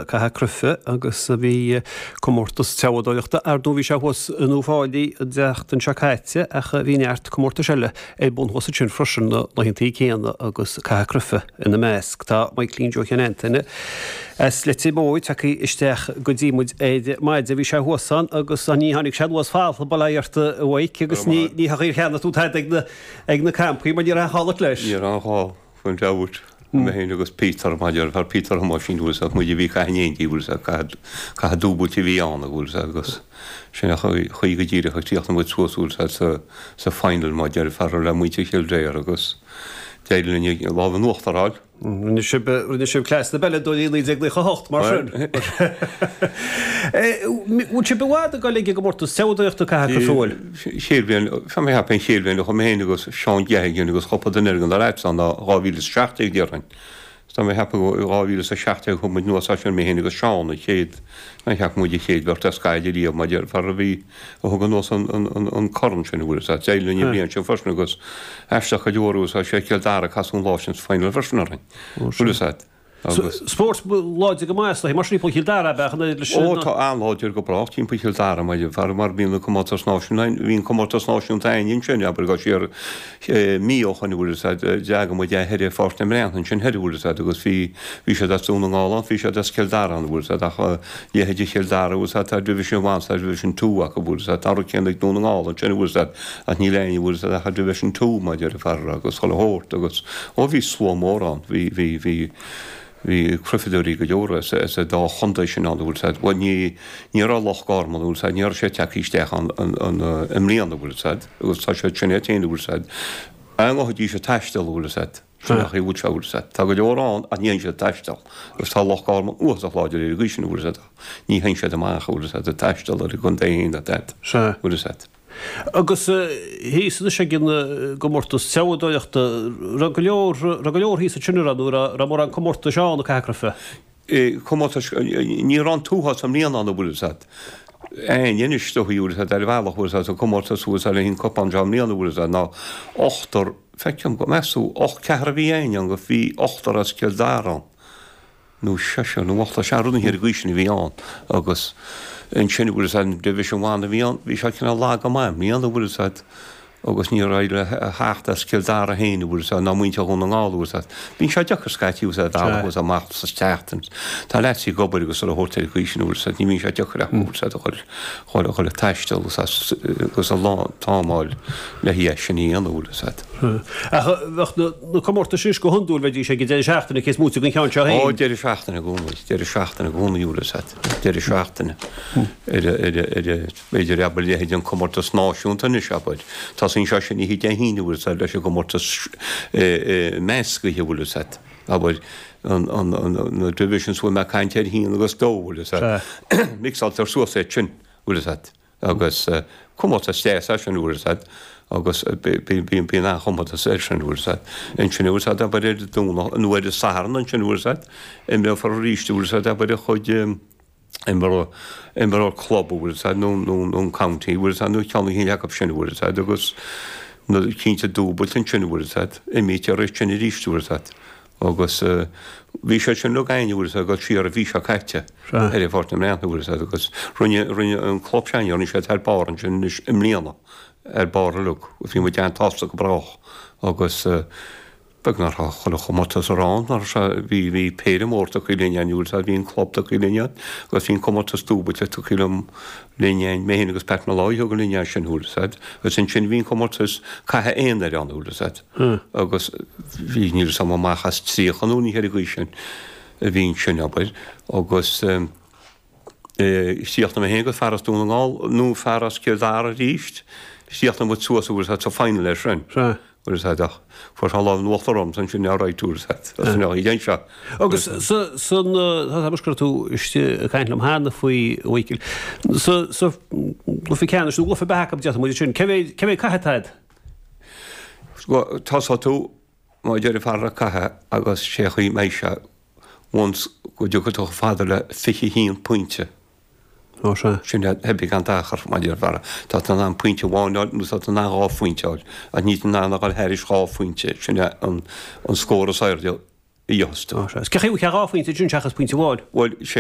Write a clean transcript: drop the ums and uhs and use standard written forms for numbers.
Cath Cruife agus bhí comórtas treabhadóireachta, ar ndóigh bhí sé thuas in Uíbh Fhailí an tseachtain seo caite ach bhí neart comórtais eile ar bun thuas ansin freisin na laethantaí céanna agus Cath Cruife ina measc. Tá Michaelín Joe Sheáin Antaine as Leitir Móir tagtha isteach go dtí muid ar maidin. Bhí sé thuas ann agus ní tháinig sé anuas folamh, bail ó Dhia ort a Mhaidhc agus ní ní cheannaigh tú tada ag na ag na campaí mar ní raibh aon chall leis. Ní raibh aon chall. Gan dabht, mé féin agus Peter, mar fear Peter Thomáisín, bhfuil 'fhios a'd, muid a bhí ag caitheamh in éindí, bhfuil 'fhios a'd, caitheamh dúbailte a bhí ann, bhfuil 'fhios a'd, agus sin an chaoi go díreach a chríochnaigh muid suas, bhfuil 'fhios a'd, sa, sa final, mar deir fear le muintir Chill Dara agus d'éirigh linn an lámh in uachtar a fháil. Rinne sibh, rinne sibh cleas na bpeileadóirí i 1998, mar sin. Bhfuil sibh i bhfad ag dul ag an gcomórtas treabhadóireachta Cath Cruife, bhfuil? Chéad bhliain, tá mé ag ceapadh an chéad bhliain a chuaigh mé féin agus Seán Geoghegan agus cúpla duine eile den leaids ann ná 2017 déarfainn. Tá mé ag ceapadh go 2017 chuaigh muid anuas as sin, mé féin agus Seán, an chéad, tá mé ag ceapadh muid an chéad bheirt as Gaillimh riamh mar déarfá a bhí, a thug anuas an, an, an, an corn sin, an bhfuil 'fhios a'd. D'éirigh linn an bhliain sin freisin agus aisteach go leor agus sé Cill Dara a casadh an lá sin sa final freisin orainn, an bhfuil 'fhios a'd. Agus. Spórt láidir go maith is dóiche, mar sin timpeall Chill Dara ab ea an oiread leis Ó, tá an-láidir go brách timpeall Chill Dara, mar fear mar bhíonn an comórtas náisiúnta, bhí an comórtas náisiúnta againn ansin, abair go siar mí ó shoin, bhfuil 'fhios a'd, d'eagraigh muid é thoir i Pháirc na mBreann ansin thoir, bhfuil 'fhios a'd, agus bhí, bhí siad as Dún na nGall ann, bhí siad as Cill Dara ann, bhfuil 'fhios a'd, ach leithéidí Chill Dara, bhfuil 'fhios a'd, tá Division One, tá Division Two acu, bhfuil 'fhios a'd, tá an rud céanna ag Dún na nGall ansin, bhfuil 'fhios a'd, ach níl éinne, bhfuil 'fhios a'd, ach i Division Two, mar deir fear agus chuile shórt agus, ó bhí slua mór ann, bhí, bhí, bhí, bhí cruifeadóirí go leor as, as an dá chontae sin ann, bhfuil 'fhios a'd, bhuel ní, ní raibh Loch Garman, bhfuil 'fhios a'd, ní raibh sé tagtha isteach ann an, an, i mbliana, bhfuil 'fhios a'd, agus tá siad sin iad féin, bhfuil 'fhios a'd, an ngabhfaidís ag taisteal, bhfuil 'fhios a'd, sin an chaoi a bhfuil sé, bhfuil 'fhios a'd, tá go leor ann ach ní théann siad ag taisteal agus tá Loch Garman uafásach láidir ar an gcaoi sin, bhfuil 'fhios a'd, ní théann siad amach, bhfuil 'fhios a'd, ag taisteal ar an gcontae féin, bhfuil 'fhios a'd. Agus thíos anois ag an gcomórtas treabhadóireachta, raibh go leor, raibh go leor thíos ansin an raibh, nó raibh, raibh mórán comórtais ann ag Cath Cruife? Comórtais, ní raibh an t-uafás i mbliana ann an bhfuil 'fhios a'd. Éinne anois is dóigh, bhfuil 'fhios a'd, ar bhealach, bhfuil 'fhios a'd, sa comórtas thuas ar an cupán seo i mbliana, bhfuil 'fhios a'd, ná ochtar, feicim go, meas tú, och, ceathrar a bhí éinne ann, go, bhí ochtar as Cill Dara ann. nó seisear nó ochtar, sea, rud ar an gcaoi sin a bhí ann agus ansin, bhfuil 'fhios a'd, an Division One a bhí ann, bhí sé cineál lag go maith i mbliana, bhfuil 'fhios a'd, agus ní raibh le theacht as Cill Dara féin, bhfuil 'fhios a'd, ná muintir Dhún na nGall, bhfuil 'fhios a'd. Bíonn sé deacair scaití, bhfuil 'fhios a'd, bealach, bhfuil 'fhios a'd, amach sa tseachtain. Tá leaids ag obair agus chuile shórt ar an gcaoi sin, bhfuil 'fhios a'd, ní bhíonn sé deacair acu, bhfuil 'fhios a'd, a dhul, a dhul ag taisteal, bhfuil 'fhios a'd, agus a lán t-am a fháil le é sin a dhéanamh, bhfuil 'fhios a'd. Ach bheadh na comórtais anois go hiondúil, bheidís ag an deireadh seachtaine, cé is móite den cheann seo féin. Ó, deireadh seachtaine i gcónaí, deireadh seachtaine i gcónaí, bhfuil 'fhios a'd, deireadh seachtaine. Ar a, ar a, ar a, b'fhéidir, abair, leithéid an comórtas náisiúnta anois, abair. Tosaíonn sé sin oíche Dé hAoine, bhfuil 'fhios a'd, leis an gcomórtas meascaithe, bhfuil 'fhios a'd, abair, an, an, an, na divisions, bhfuil mé ag caint ar haon agus dó, bhfuil 'fhios a'd. Mixáiltear suas iad sin, bhfuil 'fhios a'd. Agus comórtas deas é sin, bhfuil 'fhios a'd, agus bíonn an-chomórtas air sin, bhfuil 'fhios a'd. Ansin, bhfuil 'fhios a'd, abair ar an Domhnach, nó ar an Satharn ansin, bhfuil 'fhios a'd, imreofar arís, bhfuil 'fhios a'd, abair an chuid, imreoir club, bhfuil 'fhios a'd, nó an county, bhfuil 'fhios a'd, nó ceann eicínt acu sin, bhfuil 'fhios a'd, agus na cinnte dúbailt ansin, bhfuil 'fhios a'd, imrítear iad sin arís, bhfuil 'fhios a'd. Agus bhí sé sin uilig againn, bhfuil 'fhios a'd, ag dul siar an mhí seo caite ar an Pháirc na mBreann, bhfuil 'fhios a'd, agus rinne, rinne an club sin, rinne siad thar barr ansin anois i mbliana, ar barr uilig, agus bhí muid an-tsásta go brách agus beag nach raibh chuile chomórtas a raibh ann, mar sea, bhí, bhí péire mór tugtha linn againn, bhfuil 'fhios a'd, bhí an club tugtha linn againn agus bhí an comórtas dúbailte tugtha liom, linn againn, mé féin agus Pat Molloy a thug linn é sin, bhfuil 'fhios a'd, agus ansin bhí an comórtas caitheamh aonair ann, bhfuil 'fhios a'd. Agus bhí, níl 'fhios a'm amach as 30 nó ní ar an gcaoi sin a bhí ansin, abair, agus chríochnaigh mé féin agus fear as Dún na nGall, nó fear as Cill Dara arís, chríochnaigh muid suas, bhfuil 'fhios a'd, sa final air sin. Bhfuil 'fhios a'd, ach fuair sé an lámh in uachtar ormsa ansin, alright, bhfuil 'fhios a'd, as an aghaidh anseo. Agus sa, san, tá mé go raibh tú istigh ag caint liom cheana faoi, a Mhichíl, sa, sa gcluiche ceannais, nó gcluiche beatha acu, déarfaidh muid ansin, cé mhéad, cé mhéad caithe atá a'd? Tosóidh tú, mar a deir an fear ag caitheamh agus sé an chaoi mbeidh sé once go dtiocfaidh tú chomh fada le 21 pointe. Ó sea. Sin é, theip gan dochar, mar a deir an fear. Tá tú in ann pointe amháin a fháil nó tá tú in ann dhá phointe a fháil, ach níl tú in ann a dhul thairis dhá phointe. Sin é an scór is airde. A gheobhas tú. Sea. Cé chaoi a bhfuil 2 phointe ansin seachas pointe amháin? Bhuel, sé.